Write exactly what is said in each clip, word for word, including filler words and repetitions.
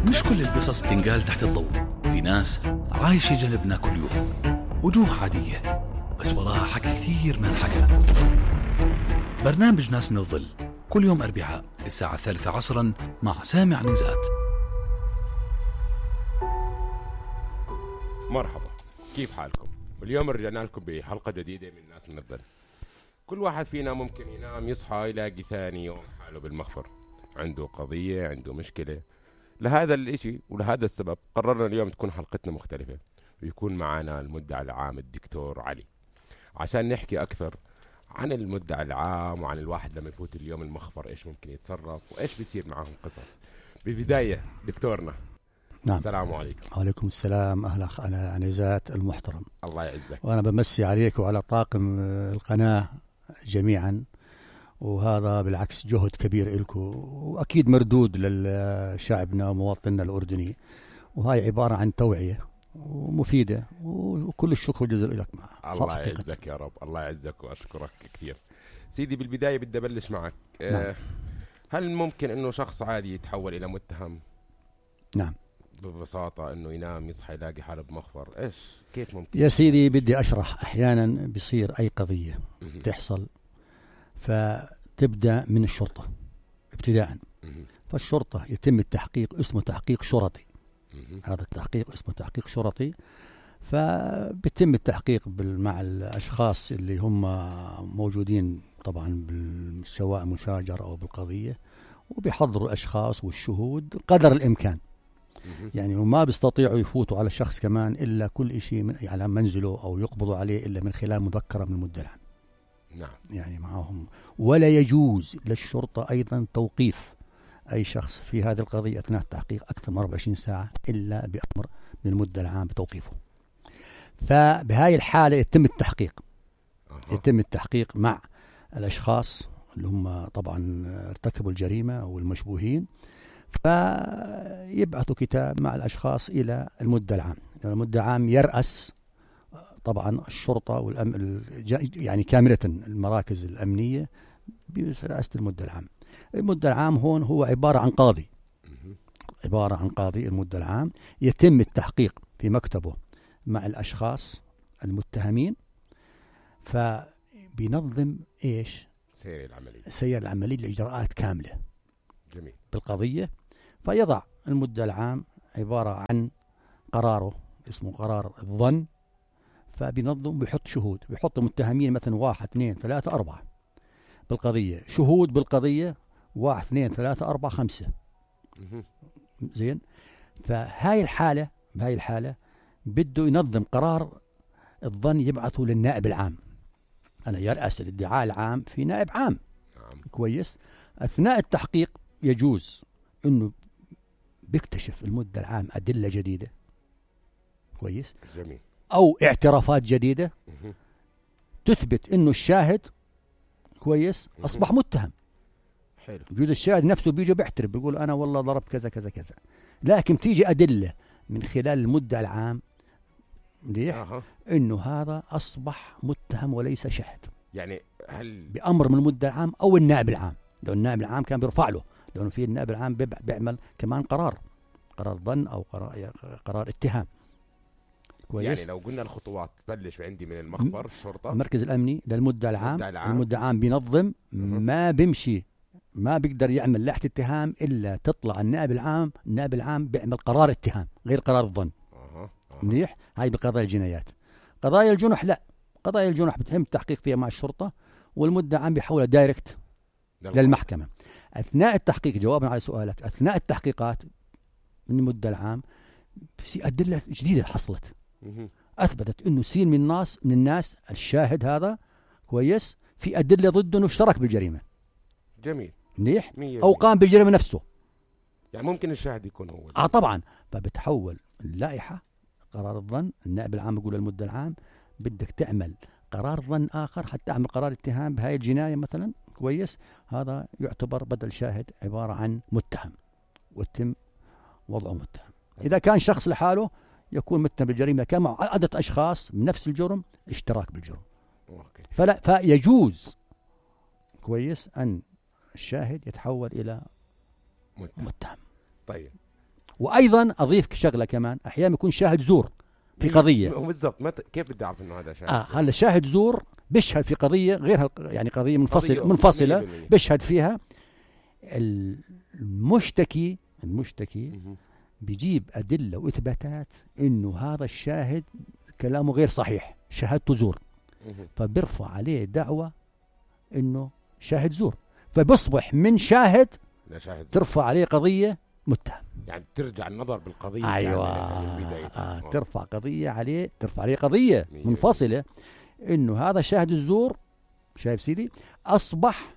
مش كل القصص بتنقال تحت الضوء. في ناس عايشة جنبنا كل يوم، وجوه عادية بس وراها حكي كثير ما انحكى. برنامج ناس من الظل كل يوم أربعاء الساعة الثالثة عصرا مع سامع نزات. مرحبا، كيف حالكم؟ اليوم رجعنا لكم بحلقة جديدة من ناس من الظل. كل واحد فينا ممكن ينام يصحى يلاقي ثاني يوم حاله بالمخفر، عنده قضية، عنده مشكلة. لهذا الاشي ولهذا السبب قررنا اليوم تكون حلقتنا مختلفة، ويكون معنا المدعي العام الدكتور علي عشان نحكي أكثر عن المدعي العام وعن الواحد لما يفوت اليوم المخفر إيش ممكن يتصرف وإيش بيصير معهم قصص. ببداية دكتورنا، نعم. السلام عليكم. وعليكم السلام. أهلا أنا نزات المحترم. الله يعزك. وأنا بمسي عليك وعلى طاقم القناة جميعا، وهذا بالعكس جهد كبير إلكم وأكيد مردود لشعبنا ومواطننا الأردني، وهاي عبارة عن توعية ومفيدة، وكل الشكر والجزاء لك معها. الله يعزك يا رب، الله يعزك وأشكرك كثير. سيدي بالبداية بدي أبلش معك. نعم. أه هل ممكن إنه شخص عادي يتحول إلى متهم؟ نعم ببساطة إنه ينام يصحى يلاقي حاله بمخفر، إيش كيف ممكن؟ يا سيدي بدي أشرح. أحيانا بيصير أي قضية تحصل فتبدأ من الشرطة ابتداء، فالشرطة يتم التحقيق، اسمه تحقيق شرطي. هذا التحقيق اسمه تحقيق شرطي، فبيتم التحقيق مع الأشخاص اللي هم موجودين طبعا سواء مشاجر أو بالقضية، وبيحضروا الأشخاص والشهود قدر الإمكان. يعني وما بيستطيعوا يفوتوا على الشخص كمان إلا كل شيء من على منزله أو يقبضوا عليه إلا من خلال مذكرة من المدعي العام. نعم. يعني معهم. ولا يجوز للشرطة أيضا توقيف أي شخص في هذه القضية أثناء التحقيق أكثر من أربعة وعشرين ساعة إلا بأمر من المدعي العام بتوقيفه. فبهاي الحالة يتم التحقيق أه. يتم التحقيق مع الأشخاص اللي هم طبعا ارتكبوا الجريمة أو المشبوهين، فيبعثوا كتاب مع الأشخاص إلى المدعي العام. المدعي العام يرأس طبعا الشرطة والأم يعني كاملة المراكز الأمنية برئاسة المدعي العام. المدعي العام هون هو عبارة عن قاضي، عبارة عن قاضي. المدعي العام يتم التحقيق في مكتبه مع الأشخاص المتهمين، فبينظم إيش؟ سير العملية سير العملية الإجراءات كاملة. جميل. بالقضية. فيضع المدعي العام عبارة عن قراره اسمه قرار الظن، فبينظم بيحط شهود، بيحط متهمين مثلا واحد اثنين ثلاثة أربعة بالقضية، شهود بالقضية واحد اثنين ثلاثة أربعة خمسة. زين. فهاي الحالة بهاي الحالة بده ينظم قرار الظن يبعثه للنائب العام. أنا يرأس الادعاء العام في نائب عام. نعم. كويس. أثناء التحقيق يجوز إنه بيكتشف المدعي العام أدلة جديدة. كويس. جميل. أو اعترافات جديدة مه. تثبت إنه الشاهد كويس مه. أصبح متهم. حلو. وجود الشاهد نفسه بيجي بيعترف بيقول أنا والله ضربت كذا كذا كذا، لكن تيجي أدلة من خلال المدعي العام ليه أه. إنه هذا أصبح متهم وليس شاهد. يعني هل بأمر من المدعي العام أو النائب العام، لأن النائب العام كان بيرفع له، لأنه في النائب العام بيعمل كمان قرار قرار ظن أو قرار قرار اتهام. كويس. يعني لو قلنا الخطوات تبلش عندي من المخبر الشرطة، المركز الأمني للمدعي العام. العام. المدعي العام بينظم ما بيمشي، ما بيقدر يعمل لائحة اتهام إلا تطلع النائب العام. النائب العام بيعمل قرار اتهام غير قرار الظن. أه. أه. منيح. هاي بقضايا الجنايات. قضايا الجنح لا، قضايا الجنح بتهم التحقيق فيها مع الشرطة، والمدعي العام بيحولها دايركت للمحكمة. أثناء التحقيق، جوابا على سؤالك، أثناء التحقيقات من المدعي العام في أدلة جديدة حصلت أثبتت إنه سين من الناس من الناس الشاهد هذا كويس في أدلة ضده إنه اشترك بالجريمة. جميل. منيح. أو قام بالجريمة نفسه. يعني ممكن الشاهد يكون هو. آه طبعا. فبتحول اللائحة قرار الظن، النائب العام يقول للمدعي العام بدك تعمل قرار ظن آخر حتى تعمل قرار اتهام بهاي الجناية مثلا. كويس. هذا يعتبر بدل شاهد عبارة عن متهم، وتم وضعه متهم. إذا كان شخص لحاله يكون متهم بالجريمة، كان مع عدة أشخاص من نفس الجرم اشتراك بالجرم. أوكي. فلا فيجوز كويس أن الشاهد يتحول إلى متهم. متهم. طيب وأيضا أضيف شغلة كمان، أحيانا يكون شاهد زور في قضية. هو بالضبط مت... كيف بدي أعرف إنه هذا شاهد آه زور؟ هلا شاهد زور بيشهد في قضية غير يعني قضية منفصلة قضية منفصلة مية بالمية. بيشهد فيها المشتكي المشتكي بيجيب أدلة وإثباتات إنه هذا الشاهد كلامه غير صحيح، شهادته زور، مهم. فبيرفع عليه دعوة إنه شاهد زور، فبيصبح من شاهد لا شاهد زور. ترفع عليه قضية متهم. يعني ترجع النظر بالقضية أيوة كاملة من بدايتها. آه ترفع قضية عليه، ترفع عليه قضية مية. منفصلة إنه هذا شاهد الزور، شايف سيدي، أصبح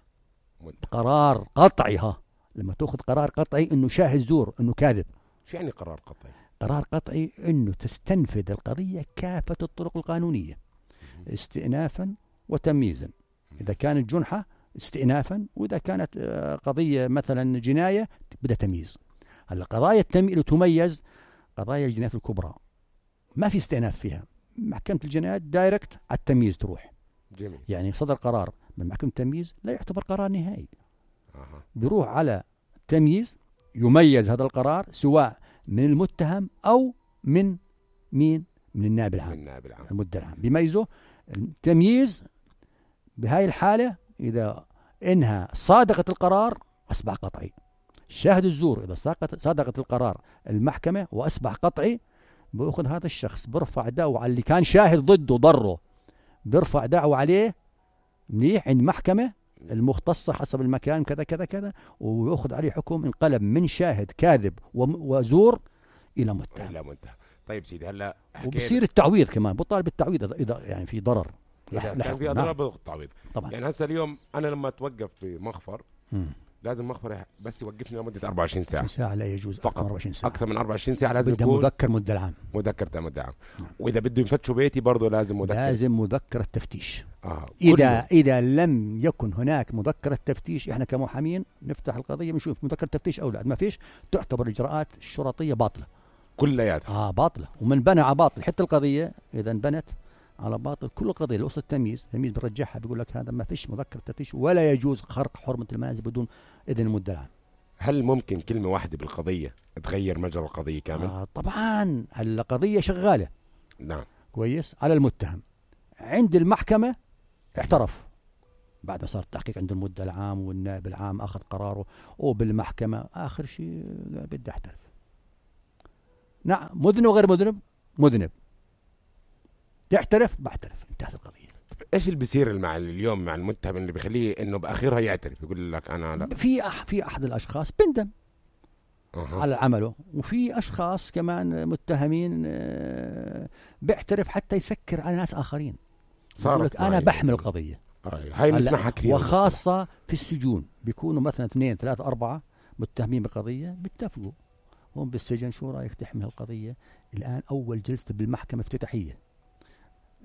متهم. قرار قطعي. ها لما تأخذ قرار قطعي إنه شاهد زور إنه كاذب، شو يعني قرار قطعي؟ قرار قطعي إنه تستنفذ القضية كافة الطرق القانونية استئنافا وتمييزا. إذا كانت جنحة استئنافا، وإذا كانت آه، قضية مثلا جناية بدها تمييز. هلا قضايا التمييز اللي تميز قضايا الجنايات الكبرى ما في استئناف فيها، محكمة الجنايات دايركت على التمييز تروح. جميل. يعني صدر قرار من محكمة التمييز لا يعتبر قرار نهائي، أها. بيروح على تمييز يميز هذا القرار سواء من المتهم أو من مين؟ من النائب العام، من النائب العام. المدعي العام بيميزه. التمييز بهاي الحالة إذا إنها صادقت القرار أصبح قطعي. شاهد الزور إذا صادقت القرار المحكمة وأصبح قطعي، بأخذ هذا الشخص برفع دعوة على اللي كان شاهد ضده ضره، برفع دعوة عليه منيح عند محكمة المختصة حسب المكان كذا كذا كذا، ويأخذ عليه حكم انقلب من شاهد كاذب وزور إلى متهم. إلى منتهى. طيب سيدي هلا وبصير التعويض كمان، بطالب بالتعويض إذا- إذا يعني في ضرر. إذا لح- كان لحق. في أضرار بضغط تعويض. طبعا. يعني هسه اليوم أنا لما أتوقف في مخفر مم. لازم مخفر بس يوقفني لمدة أربعة وعشرين ساعة. ساعة لا يجوز فقط. أكثر من أربعة وعشرين ساعة. أكثر من أربعة وعشرين ساعة لازم بدها يكون مذكر مدة العام. مذكر تام الدعم. نعم. وإذا بده يفتشوا بيتي برضه لازم مذكر. لازم مذكرة تفتيش. آه. إذا كله. إذا لم يكن هناك مذكرة تفتيش، إحنا كمحامين نفتح القضية بنشوف مذكرة تفتيش أو لا، ما فيش تعتبر الإجراءات الشرطية باطلة. كلياتها. آه باطلة، ومن بنى على باطل. حتى القضية إذا انبنت على باطل، كل القضية اللي وصلت التمييز، التمييز بيرجعها بيقول لك هذا ما فيش مذكرة تفتيش، ولا يجوز خرق حرمة المنازل بدون إذن المدعي العام. هل ممكن كلمة واحدة بالقضية تغير مجرى القضية كامل؟ آه طبعا القضية شغالة نعم. كويس على المتهم، عند المحكمة اعترف بعد ما صار التحقيق عند المدعي العام والنائب العام أخذ قراره، وبالمحكمة آخر شيء قال بدي أحترف. نعم مذنب وغير مذنب، مذنب تعترف بعترف، انتهت القضية. ايش اللي بيصير مع اليوم مع المتهم اللي بيخليه انه باخرها يعترف يقول لك انا لا؟ في أح في أحد الأشخاص بندم أه. على عمله، وفي أشخاص كمان متهمين آه، بيعترف حتى يسكر على ناس آخرين. يقول لك أنا بحمل القضية. آه. هاي بنسمعها كثير. وخاصة في السجون بيكونوا مثلا اثنين ثلاثة أربعة متهمين بقضية، بيتفقوا هم بالسجن شو رأيك تحمل القضية الآن، أول جلسة بالمحكمة افتتاحية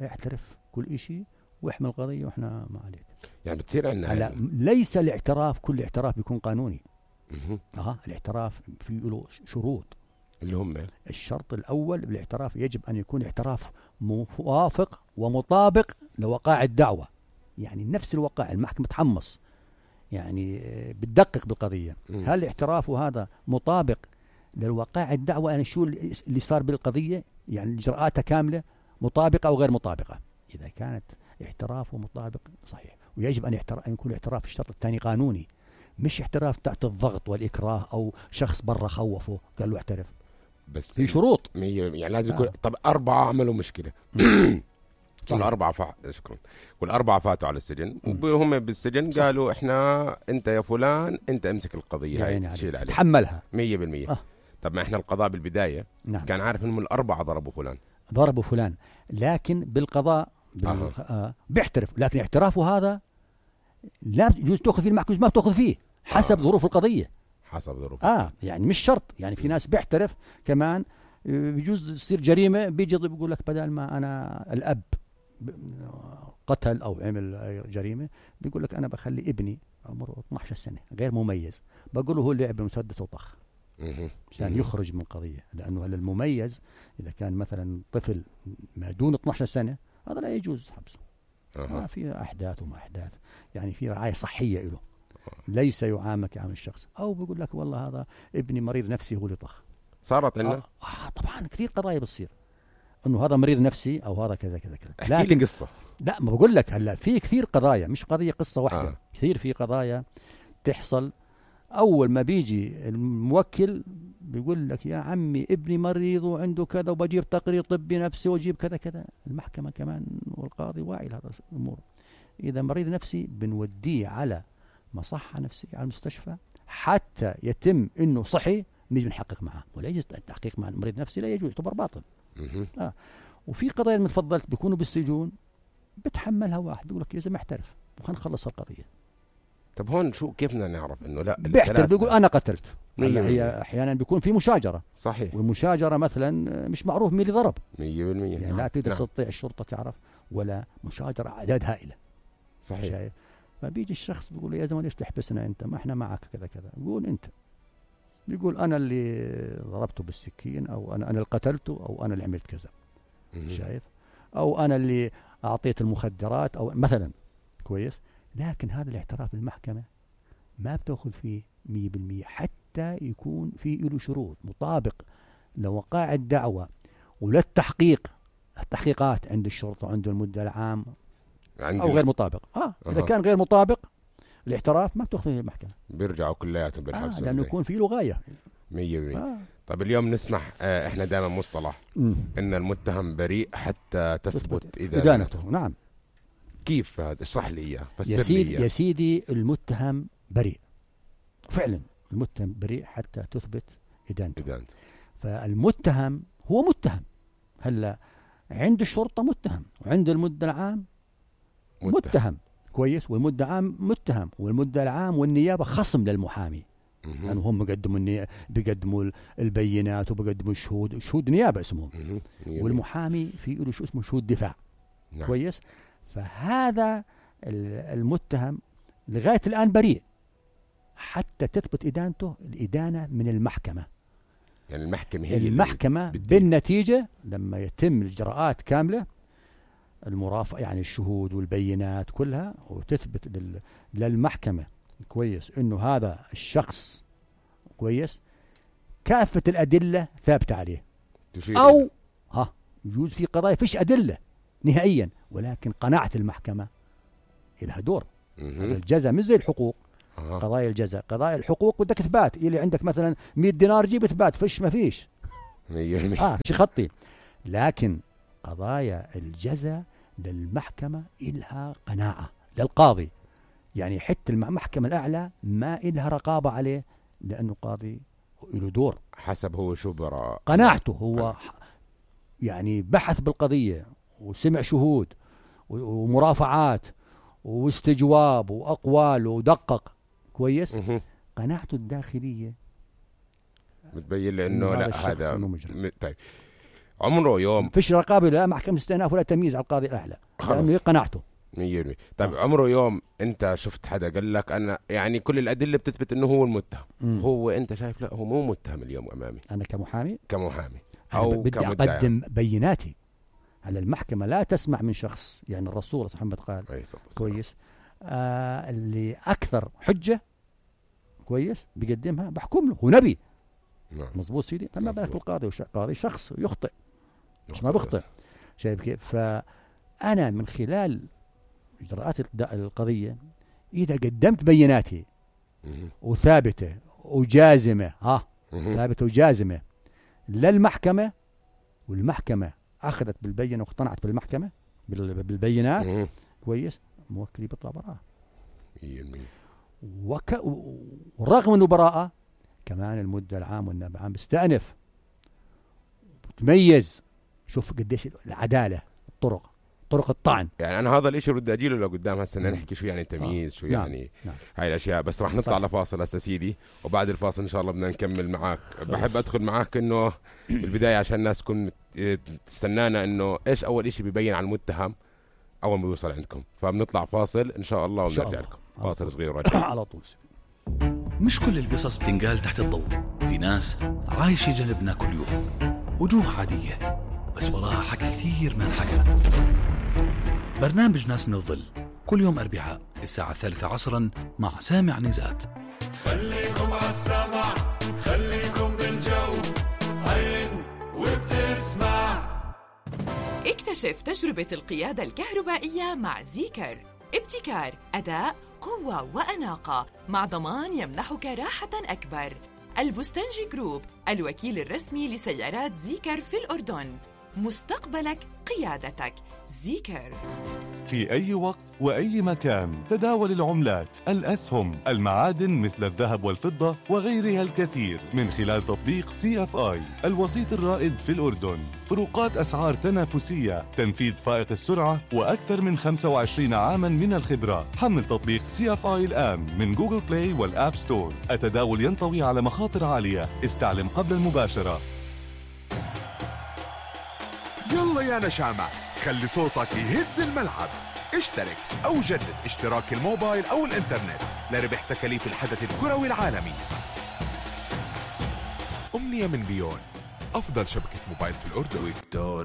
اعترف كل إشي واحمل القضية وإحنا ما عليك. يعني بتصير عندنا هلا ليس الاعتراف كل اعتراف بيكون قانوني. مه. اه الاعتراف في له شروط. اللي هم الشرط الأول بالاعتراف يجب أن يكون اعتراف موافق ومطابق لوقائع الدعوة، يعني نفس الوقائع المحكمة تحمص يعني بتدقق بالقضية. م. هل اعترافه هذا مطابق للوقائع الدعوة، يعني شو اللي صار بالقضية، يعني إجراءاتها كاملة مطابقة أو غير مطابقة. إذا كانت اعترافه مطابق صحيح، ويجب أن, أن يكون اعتراف الشرط الثاني قانوني، مش اعتراف تحت الضغط والإكراه أو شخص برا خوفه قال له اعترف. بس في شروط مية يعني لازم يكون. آه. طب أربعة عملوا مشكلة والأربعة فا... شكرا والأربعة فاتوا على السجن، وهم بالسجن صح. قالوا إحنا أنت يا فلان أنت امسك القضية هاي تشيل عليها تحملها مية بالمية. آه. طب ما إحنا القضاء بالبداية نعم. كان عارف إنهم الأربعة ضربوا فلان، ضربوا فلان، لكن بالقضاء بال... آه. آه بيعترف، لكن اعترافه هذا لا يجوز تأخذ فيه المحكمة، ما بتأخذ فيه حسب آه. ظروف القضية. حسب ظروف. اه يعني مش شرط، يعني في ناس بيعترف كمان بيجوز تصير جريمة بيجي بيقول لك بدل ما أنا الأب قتل أو عمل جريمة بيقول لك أنا بخلي ابني عمره اثني عشر سنة غير مميز، بقول له هو اللي لعب بالمسدس وطخ عشان يخرج من قضية، لأنه المميز إذا كان مثلا طفل ما دون اثني عشر سنة هذا لا يجوز حبسه. أه. ما في أحداث وما أحداث، يعني في رعاية صحية له، ليس يعامل كعامل الشخص. أو بيقول لك والله هذا ابني مريض نفسي هو اللي طخ. صارت عندنا آه, آه طبعا كثير قضايا بتصير انه هذا مريض نفسي او هذا كذا كذا كذا. احكي لي قصه. لا ما بقول لك هلا في كثير قضايا، مش قضيه قصه واحده. آه. كثير في قضايا تحصل. اول ما بيجي الموكل بيقول لك يا عمي ابني مريض وعنده كذا وبجيب تقرير طبي نفسي واجيب كذا كذا. المحكمه كمان والقاضي واعي لهذا الامور. اذا مريض نفسي بنوديه على مصحه نفسيه على المستشفى حتى يتم انه صحي، نيجي نحقق معه. ولا يجوز التحقيق مع المريض النفسي، لا يجوز، يعتبر باطل. آه. وفي قضايا مثل تفضلت بيكونوا بالسجون بتحملها واحد بيقول لك يا زلمه احترف وخلينا نخلص القضيه. طب هون شو كيف بدنا نعرف انه لا بيحترف بيقول انا قتلت. هلا هي احيانا بيكون في مشاجره. صحيح. والمشاجره مثلا مش معروف مين اللي ضرب مية بالمية. يعني لا تقدر تستطيع الشرطه تعرف، ولا مشاجره اعداد هائله. صحيح. شايف؟ فبيجي الشخص بيقول يا زلمه ليش تحبسنا انت؟ ما احنا معك كذا كذا. يقول انت، بيقول انا اللي ضربته بالسكين، او انا انا اللي قتلته، او انا اللي عملت كذا. شايف؟ او انا اللي اعطيت المخدرات، او مثلا. كويس. لكن هذا الاعتراف بالمحكمه ما بتاخذ فيه مية بالمية حتى يكون في له شروط مطابق لوقائع الدعوه وللتحقيق. التحقيقات عند الشرطه وعند المدعي العام او غير مطابق. اه اذا أه. كان غير مطابق الاعتراف ما بتاخذ فيه المحكمه، بيرجعوا كلياتهم بالحبس. آه لانه يكون في له غايه. مية بالمية. آه. طب اليوم نسمح آه احنا دائما مصطلح م. ان المتهم بريء حتى تثبت ادانته. نعم. كيف هذا؟ اشرح لي اياه. يا سيدي يا سيدي المتهم بريء فعلا. المتهم بريء حتى تثبت ادانته. ادانته. فالمتهم هو متهم. هلا عند الشرطه متهم، وعند المدعي العام متهم. متهم. كويس. والمدعي العام متهم، والمدعي العام والنيابه خصم للمحامي. لانه يعني هم بيقدموا الني... بيقدموا البينات وبيقدموا الشهود، شهود نيابه اسمهم. والمحامي في له شو اسمه شهود دفاع. نعم. كويس. فهذا المتهم لغايه الان بريء حتى تثبت ادانته. الادانه من المحكمه. يعني المحكمه هي المحكمه بالنتيجه لما يتم الاجراءات كامله، المرافعه يعني الشهود والبينات كلها، وتثبت لل... للمحكمه كويس انه هذا الشخص كويس كافه الادله ثابته عليه. او ها يجوز في قضايا فيش ادله نهائيا، ولكن قناعه المحكمه لها دور. الجزاء مش زي الحقوق. آه. قضايا الجزاء قضايا الحقوق بدك اثبات. اللي عندك مثلا مية دينار جيب اثبات، فيش ما فيش. اه شي خطي. لكن قضايا الجزاء للمحكمة إلها قناعة للقاضي. يعني حتى المحكمة الأعلى ما إلها رقابة عليه، لأنه قاضي له دور حسب هو شو برا قناعته. هو يعني بحث بالقضية وسمع شهود ومرافعات واستجواب وأقوال ودقق كويس. قناعته الداخلية بتبين لي إنه لا هذا م... طيب عمره يوم فيش رقابه لا محكمة استئناف ولا تمييز على القاضي الأعلى، لأنه قناعته مية بالمية. طيب آه. عمره يوم أنت شفت حدا قال لك أنا يعني كل الأدلة بتثبت إنه هو المتهم، مم. هو أنت شايف لا هو مو متهم اليوم أمامي أنا كمحامي كمحامي أو بدي أقدم بيناتي على المحكمة. لا تسمع من شخص، يعني الرسول صلى الله عليه وسلم قال كويس آه اللي أكثر حجة كويس بيقدمها بحكم له، هو نبي. نعم. مظبوط سيدي. فما بالك بالقاضي، والقاضي شخص يخطئ مش ما بخطئ. شايف كيف؟ فأنا من خلال إجراءات القضية إذا قدمت بيناتي وثابتة وجازمة ها ثابتة وجازمة للمحكمة، والمحكمة أخذت بالبينة واقتنعت بالمحكمة بالبينات كويس، موكلي بيطلع براءة. وك... ورغم أنه براءة كمان المدعي العام والنائب العام بيستأنف بتميز. شوف قديش العدالة، الطرق طرق الطعن. يعني أنا هذا الإشي بدي أجيله لو قدام هسه نحكي شو يعني تمييز. آه. شو يعني نعم. هاي الأشياء. بس راح نطلع لفاصل هسه سيدي، وبعد الفاصل إن شاء الله بدنا نكمل معاك. بحب أدخل معاك إنه بالبداية عشان الناس تكون تستنانا إنه إيش أول إشي بيبين على المتهم أول ما يوصل عندكم. فبنطلع فاصل إن شاء الله ونرجع لكم. فاصل صغير وراجع على طول. مش كل القصص بتنقال تحت الضوء. في ناس عايشة جنبنا كل يوم، وجوه عادية بس وراها حكي كثير ما انحكى. برنامج ناس من الظل كل يوم أربعاء الساعة الثالثة عصرا مع سامع نزات. خليكم عالسمع، خليكم بالجو، اكتشف تجربة القيادة الكهربائية مع زيكر. ابتكار، أداء، قوة وأناقة، مع ضمان يمنحك راحة أكبر. البستنجي جروب، الوكيل الرسمي لسيارات زيكر في الأردن. مستقبلك قيادتك. زيكر. في أي وقت وأي مكان تداول العملات، الأسهم، المعادن مثل الذهب والفضة وغيرها الكثير من خلال تطبيق سي اف آي، الوسيط الرائد في الأردن. فروقات أسعار تنافسية، تنفيذ فائق السرعة، وأكثر من خمسة وعشرين عاماً من الخبرة. حمل تطبيق سي اف آي الآن من جوجل بلاي والآب ستور. التداول ينطوي على مخاطر عالية، استعلم قبل المباشرة. يلا يا نشامة، خلي صوتك يهز الملعب. اشترك أو جدد اشتراك الموبايل أو الإنترنت لربح تكاليف الحدث الكروي العالمي. أمنية من بيون، أفضل شبكة موبايل في الأردن.